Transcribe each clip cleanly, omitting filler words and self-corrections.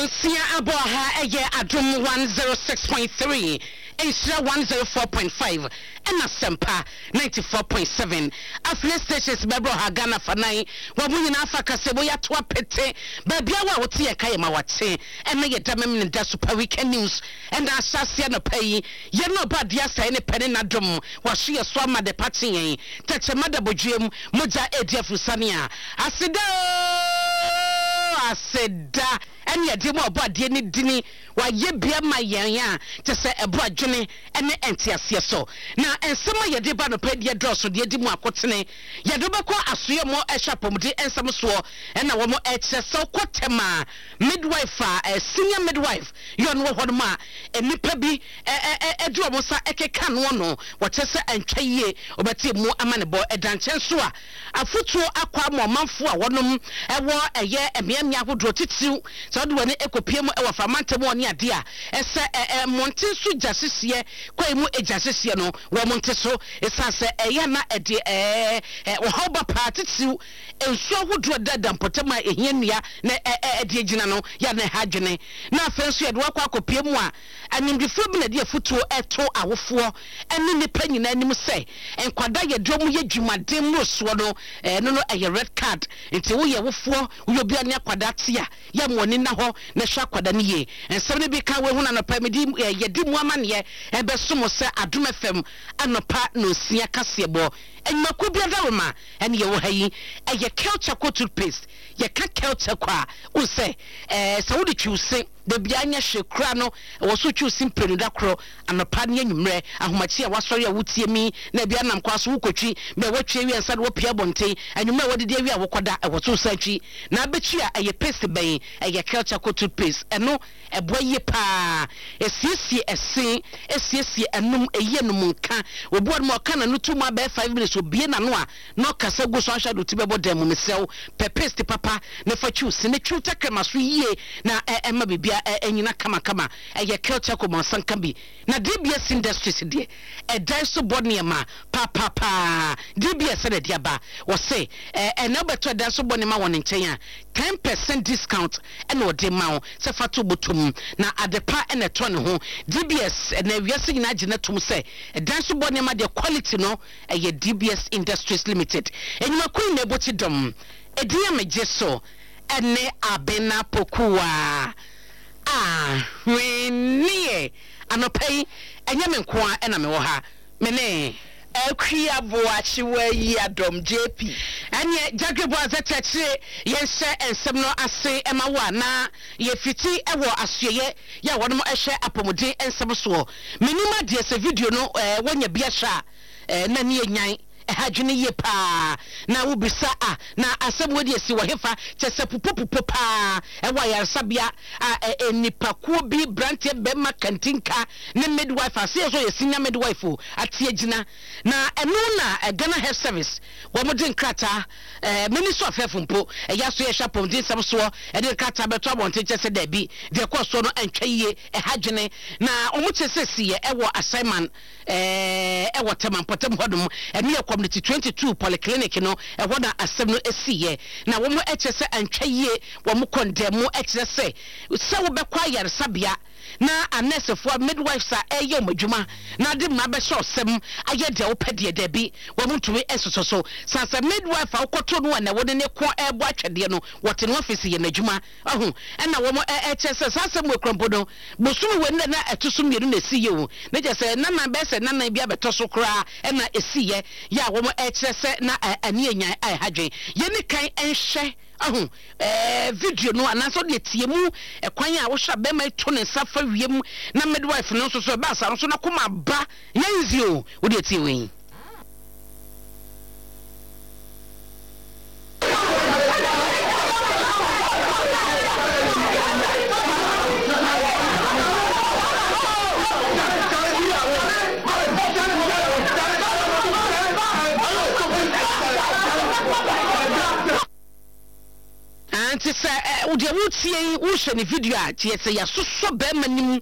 Nonsia abɔ ha ɛyɛ Adom 106.3, Nhyira 104.5 ɛna Asempa 94.7. Affiliate stations bɛbrɛ ɔha Ghana fanan. Wɔn mo nyinaa fa kasamu yi ato apete. Baabiara wo a wote yɛn ka yɛ ma wakye. Ɛna yɛda Memeneda Super Weekend News ɛna ahyɛ aseɛ anɔpa yi. Yɛn na ɔbɔ adeɛ asɛe ne pɛ ne n'adom. Wahwe yɛ so ama adepa kye yɛn. Tɛkyerɛma da bodwuam, mogya redi afurusane a. Aseda oo, aseda ɛne yɛde ma ɔbɔ adeɛ ne dini. Wayɛ bi ama yɛn a kyɛ sɛ ɛboro adwene ne nteaseɛ so. Na nsɛm a yɛde ba anɔpa yi deɛ dɔɔso, deɛ ɛdi mu akotene. Yɛde wo bɛkɔ asoeɛ mu ɛhwɛ apɔmuden nsɛm soɔ ɛna wɔn ɛkyerɛ sɛ wokɔ tɛm a midwife a senior midwife yɛ ɔno wɔ hɔ nom a nnipa bi ɛde wɔn nsa ɛkeka noɔ no wɔkyerɛ sɛ ɛntwa yie wobɛte mu amanebɔ. Ɛda nkyɛn nso a afotuo akɔ ama ɔmanfoɔ a wɔnom ɛwɔ ɛyɛ mmeammea ahodoɔ titiriw sɛ wode w'ani ɛkɔpie mu ɛwɔ Aframantam hɔ ne adeɛ a ɛsɛ mmɔnten so gya hyehyeɛ kwae mu gya hyehyeɛ no wɔn nte so ɛsiane sɛ ɛyɛ a na ɛde ɔhaw ba paa titiriw nsuo ahodoɔ a ɛdeda mpɔtam a ɛhia nnua na ɛde agyina no yɛ a na ɛha adwene. Na afei nso yɛde wakɔ akɔpie mu a animdefoɔ bi na ɛde afotuo ɛto awofoɔ ne nnipa nyinaa anim sɛ nkwadaa yɛde wɔn yɛ dwumaden mmorosoɔ no ɛno no ɛyɛ red card nti woyɛ wofoɔ woyɛ obi a ne akwadaa te a yɛ mo ani nna hɔ na hwɛ akwadaa no yie. Nsɛm no bi ka woahu no anɔpa yi mede yɛde mu amaneɛ ɛbɛso mo sɛ Adom FM anɔpa nonsia kaseɛbɔ nnwumakuo bi adaworoma ɛne yɛwɔ ha yi ɛyɛ Kel Charcoal Toothpaste. Yɛka Kel Charcoal a wohu sɛ ɛɛ sɛ wode twi wo se da biara nyɛ hwee koraa no ɛwɔ so wotwi wo se mprenu da koro anɔpa ne anwummerɛ ahomakye a wasɔre a wotie mi na ebi anam kwan so wokɔtwi bɛ watwi awie ansa na wapue abɔnten anwummerɛ a wadidi awie a wokɔda ɛwɔ so wosan twi na abɛtwi a ɛyɛ paste bɛn ɛyɛ Kel Charcoal Toothpaste ɛno Ɛboa yie paa. Ɛsiesie ɛse, ɛsiesie anum, ɛyi anum nka. Obi wɔ nom a ɔka n'ano to mu a bɛyɛ 5 minutes obue n'ano a na ɔkasa gu so anhwɛ a de wo ti bɛbɔ dan mu. Mesrɛ wo pɛ paste papa na fa twi wo se na twi wo tɛkrɛma so yie na ɛma biribiara ɛnyina kamakama. Ɛyɛ Kel Charcoal ma nsa nka bi. Na DBS Industries deɛ ɛdan so bɔ nneɛma paapapaa. DBS na ɛde aba. Wɔse ɛnɛ wobɛtɔ ɛdan so bɔ nneɛma wɔ ne nkyɛn a, 10% discount na ɔde ma wo sɛ fa to bɔtɔ mu. Na adepa na ɛtɔ ne ho. DBS ɛnɛ wiase nyinaa gye no tom sɛ ɛdan so bɔ nneɛma deɛ quality no ɛyɛ DBS Industries Limited. Nnwumakuo nyinaa ɛbɔ ti dɔm. Edin a megye so ɛne Abena Pokuaa. Ahweneɛ! Anɔpa yi, ɛnyɛ me nko ara na mewɔ ha. Me ne. Akua Boakye Wayi Adom, JP. Ɛneɛ Gyagre Boazɛ Kyerɛkyere yɛnhyɛ nsɛm no ase ma wo a na yɛfiti wɔ asoɛeɛ yɛ a wɔnom hwɛ apɔmuden nsɛm soɔ. Menim adeɛ sɛ video no woanya bi ahwɛ a na ani anyan. Ɛha adwene yie paa. Na wobisa a, na asɛm wei deɛ si wɔ hefa? Kyerɛ sɛ pupopupo paa ɛwɔ ayaresabea a ɛ nnipakuo bi, branteɛ, bɛrima, kantinka ne midwife, aseɛ nso yɛ senior midwife o, ate agyina. Na ɛno na Ghana Health Service wɔn de nkrataa, ɛ Ministry of Health mpo, ɛyɛ aso yɛhwɛ apɔmuden nsɛm soɔ, ɛde nkrataa bɛto abɔnten kyerɛ sɛ daabi, deɛ ɛkɔɔ soɔ no antwa yie, ɛha adwene. Na wɔn kyerɛ sɛ siiɛ ɛwɔ Assignment. Ɛɛ wɔ Tema mpɔtam hɔnom, ɛno yɛ Community 22 Polyclinic no, ɛhɔ na asɛm no siiɛ. Na wɔn kyerɛ sɛ antwa yie, wɔn kɔndɛm kyerɛ sɛ, sɛ wobɛkɔ ayaresabea na anɛɛsefoɔ, midwives a ɛreyɛ wɔn adwuma na ade mmara bɛhyɛ ɔsɛm ayɛ deɛ wopɛ deɛ, dabi, wɔn ntumi nsosɔ so. San sɛ midwife a wokɔtoo no a na wode ne ko rebɔ atwɛdeɛ no, wɔte ne office yɛ n'adwuma. Wahu? Ɛna wɔn ɛ, ɛkyerɛ sɛ saa asɛm wei kora mpo no, bosome wei na na ɛto so mmienu na ɛsiiɛ o. Na kyerɛ sɛ nnanan bɛyɛ sɛ nnanan bi abɛtɔ so koraa ɛna ɛsiiɛ, yɛ a wɔn ɛkyerɛ sɛ na ɛ, ani anyan a ɛha dwen. Yɛnni kan nhwɛ, wahu, ɛɛ, video no anaasɛ wodeɛ tie mu ɛkwan a wohwɛ a bɛrima yi to ne nsa fa wiem na midwife no nso so ɛbaa saa no nso n'akoma aba. Nyɛ easy o, wodeɛ tie wei. Nti sɛ deɛ wotie yi wohwɛ ne video a kyerɛ sɛ yɛasosɔ bɛrima no mu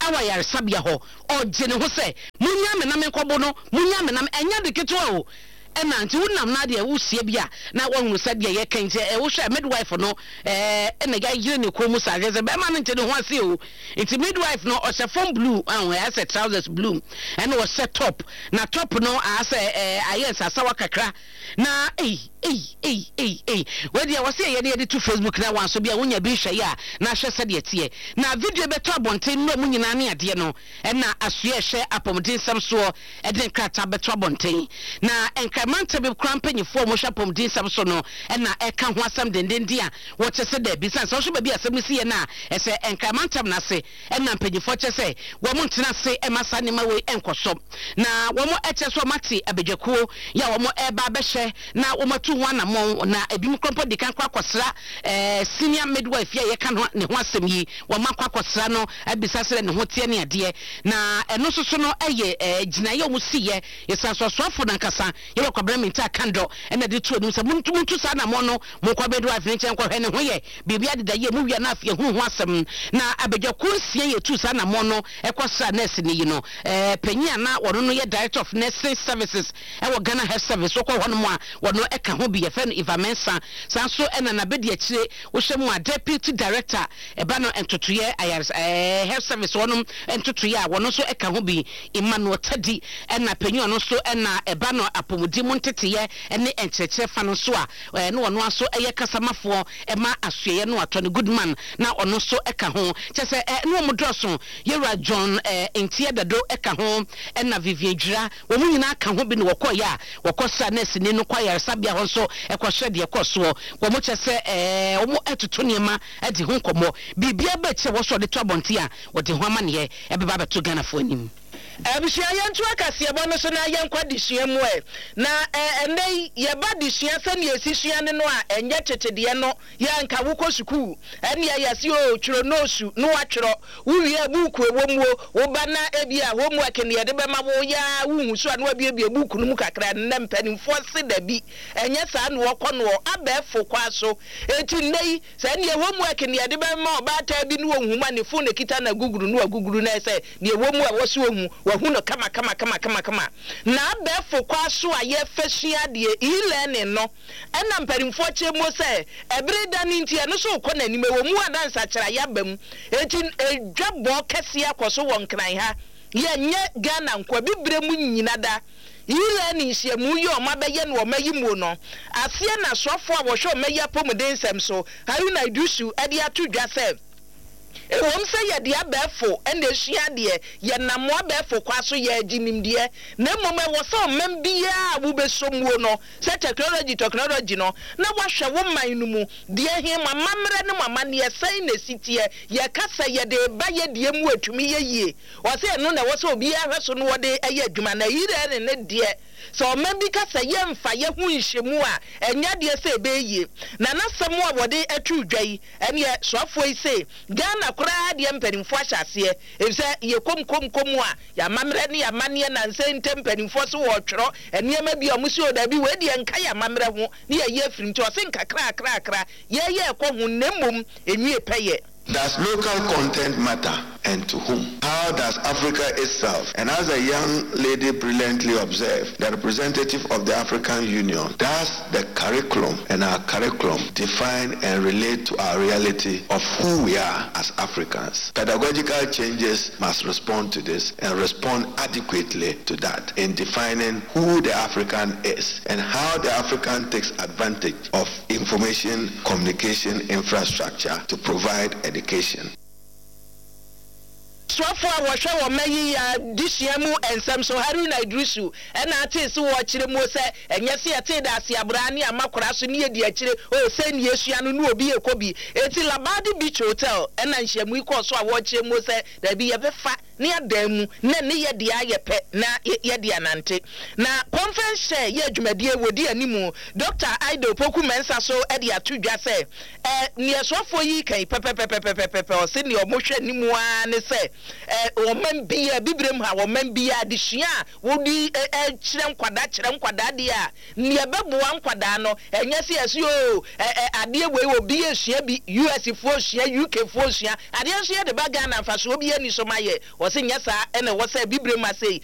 wɔ ayaresabea hɔ ɔgye ne ho sɛ monyaa me na menkɔbo no monyaa me na ɛnyɛ ade ketewa o. Ɛna nti wonam na deɛ wosie bi a na woahunu sɛ deɛ yɛka nti ɛ wohwɛ midwife no ɛɛ ɛna yɛayere ne kɔn mu saa hwɛ sɛ bɛrima no nte ne ho ase o nti midwife no ɔhyɛ fam blue ɛho ɛyɛ sɛ trousers blue ɛna ɔhyɛ top na top no asɛ ɛɛ ayɛ nsasawa kakra na ei ei ei ei ei wei deɛ wɔsɛ yɛyɛ ne yɛde to Facebook na wanso bi a wonya bi nhwɛ yɛ a na ahwɛ sɛdeɛ teɛ na video bɛtɔ abɔnten nnura mu nyinaa ne adeɛ no Ɛna asoɛ a ɛhwɛ apɔmuden nsɛm soɔ de nkrataa bɛto abɔnten. Na Nkran mantam bi koraa mpanyinfoɔ a wɔhwɛ apɔmuden nsɛm so no na ɛka ho asɛm dendenden a wɔkyɛ sɛ daabi. Sane sɛ wohwɛ baabi a asɛm no siiɛ no a, ɛsɛ Nkran mantam no ase na mpanyinfoɔ kyɛ sɛ wɔn ntena ase mma saa nneɛma wei nkɔ so. Na wɔn kyerɛ sɛ wɔn ate abadwakuo yi a wɔn reba abɛhwɛ na wɔn atu ho anamɔn na ebinom koraa mpo adi kan kɔ akɔsra eh, senior midwife yi a yɛka ne ho asɛm yi, wɔn akɔ akɔsra no abisa sɛdeɛ ne ho teɛ ne adeɛ. Na ɛno nso so no yɛ eh, gyinaeɛ a wɔn siiɛ. Yɛsan so asoafoɔ no ankasa, Yɛwura Kwabena Mintah Kandɔ, ɛna de to anim sɛ montu montu saa anamɔn no, monkɔ midwife no nkyɛn nkɔhwɛ ne ho yɛ biribi adeda yie, mowie a na afei yɛhunu ho asɛm. Na abadwakuo nsia yɛtuu saa anamɔn no kɔsraa nɛɛseni yi no, eh, panyin a na ɔno no yɛ Director of Nursing Services Ɛwɔ Ghana Health Service wokɔ hɔ nom a wɔno ka ho bi yɛfrɛ no Eva Mensah saa nso na nabɛdi akyire wohwɛ mu a Deputy Director ɛba no ntotoeɛ ayaresa ɛɛ Health Service hɔ nom ntotoeɛ a wɔno nso ka ho bi Emmanuel Tadi ɛna panyin ɔno nso na ɛba no apɔmuden mu nteteeɛ ne nkyerɛkyerɛ fa no nso a ɛɛ na ɔno nso yɛ kasamafoɔ ɛma asoɛeɛ no a Tony Goodman na ɔno nso ka ho kyɛ sɛ ɛɛ ne wɔn dɔɔso Yɛwura John ɛɛ Ntia Dado ka ho ɛna Vivian Dwira Wɔn nyinaa ka ho bi na wɔkɔeɛ a wɔkɔsraa nɛɛseni no kɔ ayaresabea hɔ nso kɔhwɛ deɛ ɛkɔɔ soɔ. Wɔkyerɛ sɛ wɔretoto nneɛma adi ho nkɔmmɔ. Biribiara ba akyiri a wɔsɔ de to abɔnten a, wɔde ho amanneɛ bɛba abɛto Ghanafoɔ anim. Abusua, yɛntoa kaseɛbɔ no so na yɛnkɔ adesua mu ɛ. Na ɛnnɛ yi, yɛba adesua sɛnea yɛsi sua no no a, ɛnyɛ tete deɛ no. Yɛ anka wokɔ sukuu, ɛnneɛ yɛse oo, twerɛ noosu na woatwerɛ. Wowie a, buuku ɛwɔ mu o, woba na ebia homework na yɛde bɛma wo, woyɛ ara wonhu so a na woabuebue buuku no mu kakra. Nnɛ mpanimfoɔ se dabi, ɛnyɛ saa na wɔkɔ noɔ, abɛɛfo kwan so. Enti nnɛ yi, sɛ ɛnneɛ homework na yɛde bɛma ɔbaatan bi na ɔnhu mu a, ne phone na ɛkita no aguguru na waguguru na ayɛ sɛ deɛ ɛwɔ mu a ɛwɔ sɛ ɔhu, wahu no kama kama kama kama kama. Na abɛɛfo kwan so a yɛfa sua adeɛ, e-learning no, Ɛnna mpanimfoɔ kyerɛ mu sɛ ɛbere da no nti ɛno nso rekɔ n'anim. Ɛwɔ mu a na nsakyeraeɛ aba mu, enti dwabɔ kɛseɛ akɔ so wɔ Nkran ha. Yɛnyɛ Ghana nko, Abibire mu nyina da. E-learning nhyiamu yi a wɔabɛyɛ no wɔ ɔma yi muo no aseɛ na soafoɔ a wɔhwɛ ɔma yi apɔmuden nsɛm so, Haruna Iddrisu de ato dwa sɛ, Ɛwom sɛ yɛde abɛɛfo na esua adeɛ, yɛnam abɛɛfo kwa so yɛregye nimdeɛ, na mmom ɛwɔ sɛ ɔman biara a wobɛsɔ muo no, sɛ tɛknɔlɔgyi tɔknɔlɔgyi no, na woahwɛ wo man no mu deɛ he, mo amammerɛ ne mo amanneɛ sɛn na ɛsi teɛ, yɛka sɛ yɛde reba yɛ deɛ mu a ɛtumi yɛ yie. Ɔse ɛno na ɛwɔ sɛ obiara hwɛ so na ɔde yɛ adwuma, na e-learning no deɛ, sɛ ɔman bi ka sɛ yɛmfa yɛ ho nhyɛ mu a, ɛnyɛ adeɛ sɛ ɛbɛyɛ yie. Na n'asɛm a wɔde too dwa yi, Ɛneɛ soafoɔ yi se Ghana koraa deɛ mpaninfoɔ ahyɛ aseɛ efisɛ yɛ kom kom kom a yɛ amammerɛ ne yɛ amanneɛ nansa yi ntɛm mpaninfoɔ se wɔɔtwerɛ nneɛma bi a ɔmo se oo daabi wei deɛ nka yɛ amammerɛ ho ne yɛyɛ afiri nti ɔse nkakrakrakra yɛɛyɛ ɛkɔ ho na mmom ɛnwie pɛyɛ. Does local content matter and to whom? How does Africa itself, and as a young lady brilliantly observed, the representative of the African Union, does the curriculum and our curriculum define and relate to our reality of who we are as Africans? Pedagogical changes must respond to this and respond adequately to that in defining who the African is and how the African takes advantage of information communication infrastructure to provide education. Soafoɔ a wɔhwɛ wɔ mma yi adesua mu nsɛm so, Haruna Iddrisu, na atee se wɔrekyerɛ muo sɛ ɛnyɛ se yɛtee da ase abraa ne ama koraa so ne yɛdi akyire oo sei ne yɛsua no ne obi rekɔ bi. Enti Labadi Beach Hotel na nhyiamu yi kɔɔ so a wɔrekyerɛ muo sɛ daabi yɛbɛfa ne adan mu na ne yɛ deɛ ayɛ pɛ na yɛde anante. Na conference chair yɛ dwumadie wɔdi animu, Dɔkta Ida Opoku Mensah so de ato dwa sɛ ɛ neɛ soafoɔ yi reka yi pɛpɛpɛpɛpɛpɛ ɔse neɛ wɔhwɛ animu ara ne sɛ ɛ ɔman biara, Abibirem ha ɔman biara adesua a wode kyerɛ nkwadaa kyerɛ nkwadaa deɛ a Nea ɛbɛboa nkwadaa no, ɛnyɛ sɛ yɛse oo ɛ ɛ adeɛ wei obi resua bi, US foɔ resua, UK foɔ resua, adeɛ nso yɛde ba Ghana mfasoɔ biara nni so ma yɛ. Wɔse nyɛ saa na ɛwɔ sɛ Abibirem ha sei.